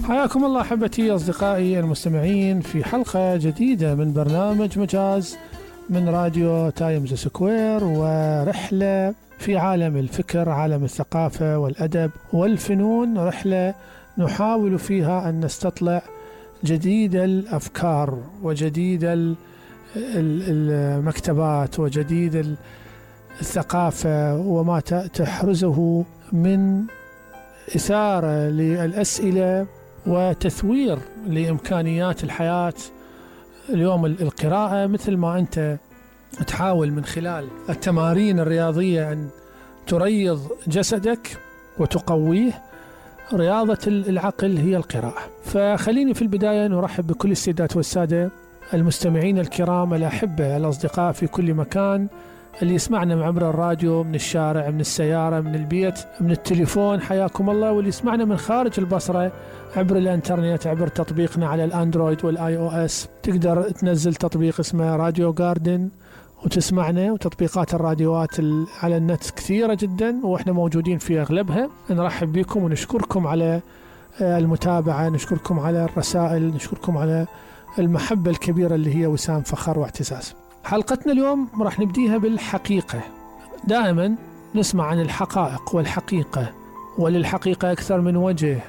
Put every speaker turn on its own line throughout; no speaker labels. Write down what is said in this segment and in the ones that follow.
حياكم الله أحبتي أصدقائي المستمعين في حلقة جديدة من برنامج مجاز من راديو تايمز سكوير، ورحلة في عالم الفكر، عالم الثقافة والأدب والفنون، رحلة نحاول فيها أن نستطلع جديد الأفكار وجديد المكتبات وجديد الثقافة وما تحرزه من إثارة للأسئلة وتثوير لإمكانيات الحياة. اليوم القراءة مثل ما أنت تحاول من خلال التمارين الرياضية أن تريض جسدك وتقويه، رياضة العقل هي القراءة. فخليني في البداية نرحب بكل السيدات والسادة المستمعين الكرام الأحبة الأصدقاء في كل مكان، اللي يسمعنا من عبر الراديو، من الشارع، من السيارة، من البيت، من التليفون، حياكم الله. واللي يسمعنا من خارج البصرة عبر الانترنت، عبر تطبيقنا على الاندرويد والاي او اس. تقدر تنزل تطبيق اسمه راديو جاردن وتسمعنا، وتطبيقات الراديوات على النت كثيرة جدا واحنا موجودين في اغلبها. نرحب بكم ونشكركم على المتابعة، نشكركم على الرسائل، نشكركم على المحبة الكبيرة اللي هي وسام فخر واعتزاز. حلقتنا اليوم راح نبديها بالحقيقة. دائما نسمع عن الحقائق والحقيقة، وللحقيقة أكثر من وجه،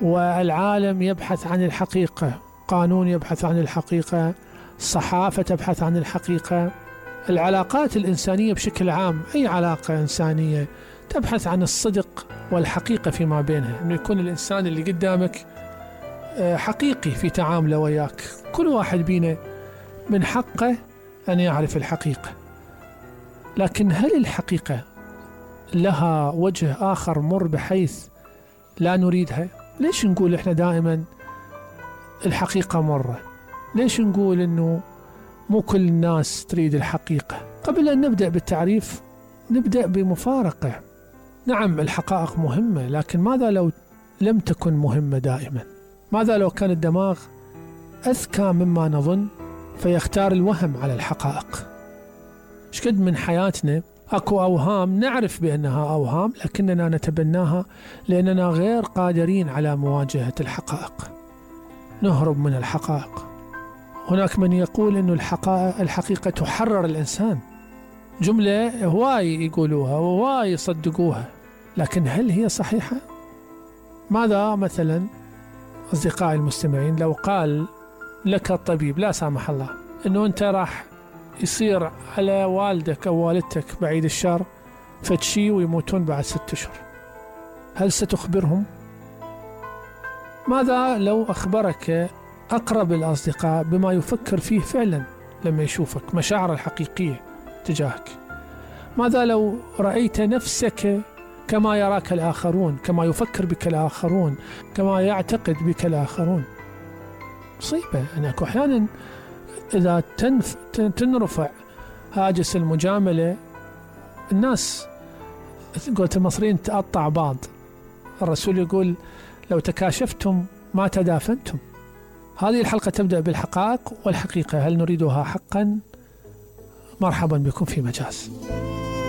والعالم يبحث عن الحقيقة، قانون يبحث عن الحقيقة، الصحافة تبحث عن الحقيقة، العلاقات الإنسانية بشكل عام، أي علاقة إنسانية تبحث عن الصدق والحقيقة فيما بينها، أن يكون الإنسان اللي قدامك حقيقي في تعامله وياك. كل واحد بينا من حقه أن يعرف الحقيقة، لكن هل الحقيقة لها وجه آخر مر بحيث لا نريدها؟ ليش نقول إحنا دائما الحقيقة مرة؟ ليش نقول إنه مو كل الناس تريد الحقيقة؟ قبل أن نبدأ بالتعريف نبدأ بمفارقة. نعم الحقائق مهمة، لكن ماذا لو لم تكن مهمة دائما؟ ماذا لو كان الدماغ أذكى مما نظن فيختار الوهم على الحقائق؟ شقد من حياتنا أكو أوهام نعرف بأنها أوهام لكننا نتبناها لأننا غير قادرين على مواجهة الحقائق، نهرب من الحقائق. هناك من يقول أن الحقيقة تحرر الإنسان، جملة هواي يقولوها وهواي يصدقوها، لكن هل هي صحيحة؟ ماذا مثلا أصدقائي المستمعين لو قال لك الطبيب لا سامح الله أنه أنت راح يصير على والدك أو والدتك بعيد الشر فتشي ويموتون بعد 6 أشهر، هل ستخبرهم؟ ماذا لو أخبرك أقرب الأصدقاء بما يفكر فيه فعلا لما يشوفك، مشاعر الحقيقية تجاهك؟ ماذا لو رأيت نفسك كما يراك الآخرون، كما يفكر بك الآخرون، كما يعتقد بك الآخرون؟ مصيبة. أنا أحيانا إذا تنرفع هاجس المجاملة الناس قلت المصريين تقطع بعض. الرسول يقول لو تكاشفتم ما تدافنتم. هذه الحلقة تبدأ بالحقائق والحقيقة، هل نريدها حقا؟ مرحبا بكم في مجاز.